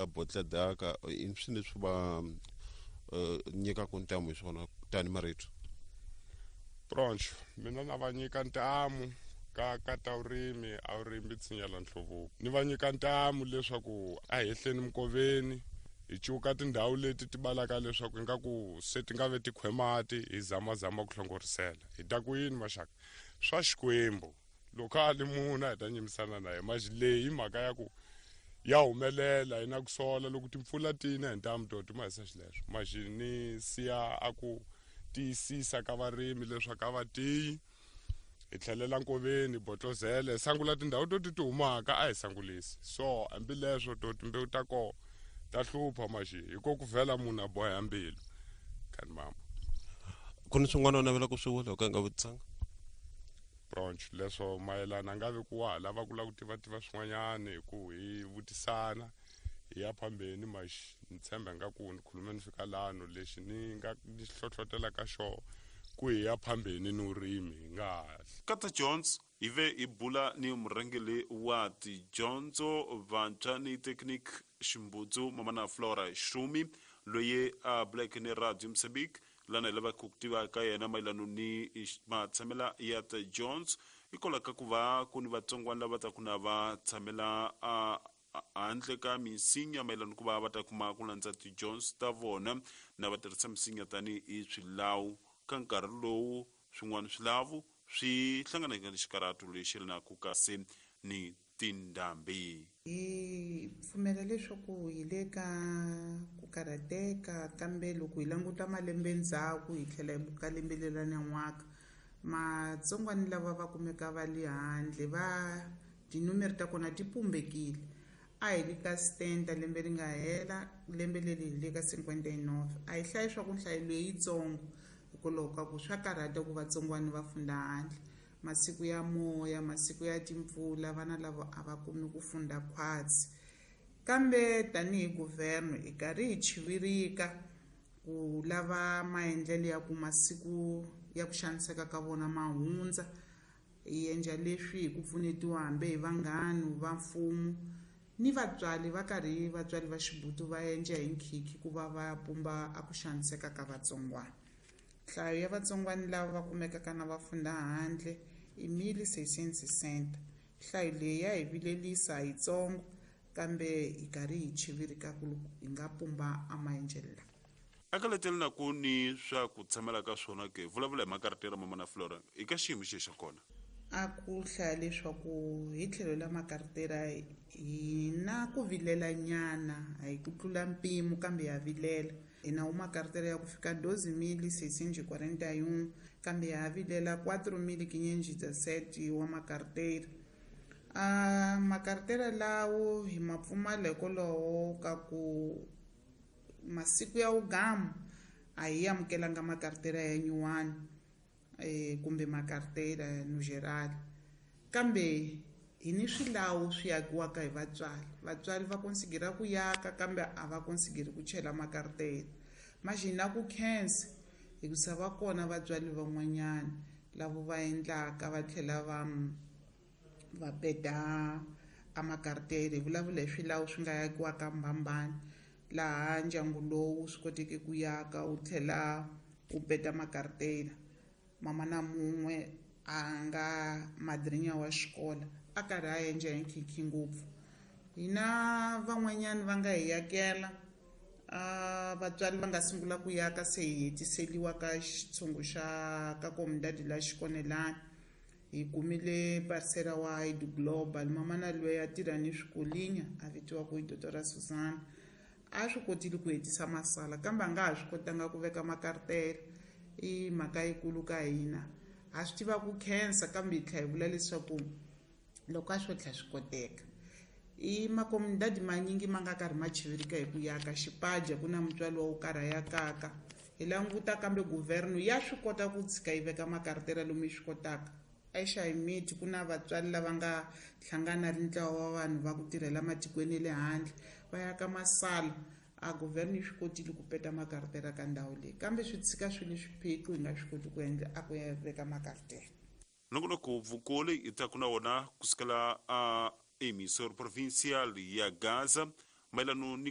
Bodladaka i swilo leswi va nyikaka ntamu hi swona tani marito. Broncho mina na va nyika ntamu ka ka ta vurimi a vurimi tshinyela nhluvuko ni va nyika ntamu leswaku a hehleni minkoveni hi cuka tindhawu leti ti balaka leswaku ingaku se ti nga ve ti khwemati hi zamazama ku hlongorisela hi ta ku yini maxaka swa xikwembu loko a li munhu a hi ta nyimisana na ye maxi leyi hi mhaka ya ku ya humelela hi na ku sola loko timpfula ti na hi ntamu to ti ma hisa xileswo maxi ni siya a ku tiyisisa ka varimi leswaku a va tiyi hi tlhelela nkoveni botlozele hi sangula tindhawu to ti ti humaka a hi sangulisi so hambileswo to timbewu ta kona ta hlupha maxi hi ko ku vhela munhu a boha mbilu kani mama ku ni swin'wana u navela ku swi vula u ka nga vutisanga Bronch leswo mayelana nga ve ku wa ha lava ku lava ku tiva-tiva swin'wanyana hi ku hi vutisana hi ya phambeni maxi ni tshemba nga ku ni khulume ni fika lano lexi ni nga ni hlohlotela ka xona ku hi ya phambeni ni vurimi hi nga ha Kata Jones hi ve hi bula ni murhangeri wa tidyondzo vantshwa ni Technique Ximbudzu Mamana Flora Shumi loyi a buleke ni Radio Mozambique Lana hi lavaka ku tiva ka yena mayelano ni matshamela ya ta Jones hikwalaho ka ku va ku ni vatsongwana lava taku na va tshamela a handle ka minsinya mayelano ku va va ta kuma ku landza ti-Jones ta vona na va tirhisa minsinya tanihi swilawu ka nkarhi lowu swin'wana swilavu swi hlanganeke ni xikarhato lexi yelanaka kasi ni tindhambi. Hi pfumela leswaku hi le ka ku karhateka kambe loko hi languta malembe ndzhaku hi tlhela hi buka lembe leri ra nyan'waka matsongwani lava va kumeka va le handle va tinumere ta kona ti pumbekile a hi le ka stenta lembe ri nga hela lembe leri hi le ka 59 a hi hlayi swa ku nhlayo leyi yitsongo hikwalaho ka ku swa karhata ku vatsongwani va funda handle Masiku ya moya, masiku ya timpfula, vana lava a va kumi ku funda khwatsi. Kambe tanihi guvherno hi karhi hi chivirika ku lava maendlelo ya ku masiku ya ku xaniseka ka vona ma hundza. Hi endla leswi hi ku pfunetiwa hambi hi vanghanu va mfumo ni vatswari va karhi vatswari va xibutu va endla hi nkhikhi ku va va pumba a ku xaniseka ka vatsongwana. Nhlayo ya vatsongwani lava va kumekaka na va funda handle i 1660. Nhlayo leyi ya hi vilelisa yitsongo, kambe hi karhi hi chivirika ku hi nga pumba a maendlelo lawa. Aka letele na ku ni swa ku tshamela ka swona ke? Vulavula hi makaratera Mamana Flora i ka xiyimo xihi xa kona? A ku hlaya leswaku hi tlhelo la makaratera hi na ku vilela nyana, a hi ku tlula mpimo kambe ha vilela. Hi na uma carteira ya ku fika 12.641, kambe ya ha vilela 4.517 wa makarteira. A makarteira lawo hi ma pfumala hikwalaho ka ku masiku ya wugamu a hi amukelanga makarteira ya nyuwani. Kumbe makartela no geral. Kambe hi ni swilawu swi yakiwaka hi vatswari. Vatswari va konsigira ku yaka kambe a va konsigiri ku chela makartela. Manjhe hi na ku khensa hikusa va kona vatswari van'wanyana lavo va endlaka va tlhela va va peta a makartela. Hi vulavula hi swilawu swi nga yakiwaka Mbhambhani laha ndyangu lowu swi koteke ku yaka wu tlhela wu peta makartela. Mamana mun'we a nga madrinya wa xikola a karhi a endla hi nkhinkhi ngopfu. Hina van'wanyana va nga hi yakela a vatswari va nga sungula ku yaka se hi hetiseliwa ka xitshungu xa ka komundadi la xikonelani. Hi kumile parsela wa Heidi Global. Mamana loyi a tirha ni swikolinya a vitiwaka hi Dotora Susana a swi kotile ku hetisa masala kambe a nga ha swi kotanga ku veka makartela. I mhaka yikulu ka hina. Ha swi tiva ku khensa kambe hi tlhela hi vula leswaku loko a swo tlhela swi koteka. I makomundadi manyingi ma nga karhi ma chivirika hi ku yaka xipaja ku na mutswari wa wo karhi a yakaka. Hi languta kambe guvherno ya swi kota ku tshika yi veka makartela lomu yi swi kotaka. EXayimiti ku na vatswari lava nga hlangana ri ntlawa wa vanhu va ku tirhela matikweni ya le handle va yaka masala. A guvherno yi swi kotile ku peta makartela ka ndhawu leyi kambe swi tshika swi li swiphiqo hi nga swi koti ku endla a ku ya veka makartela. Nongonoko vukoli hi taku na wona kusukela a Emissor Provincial ya Gaza. Mayelano ni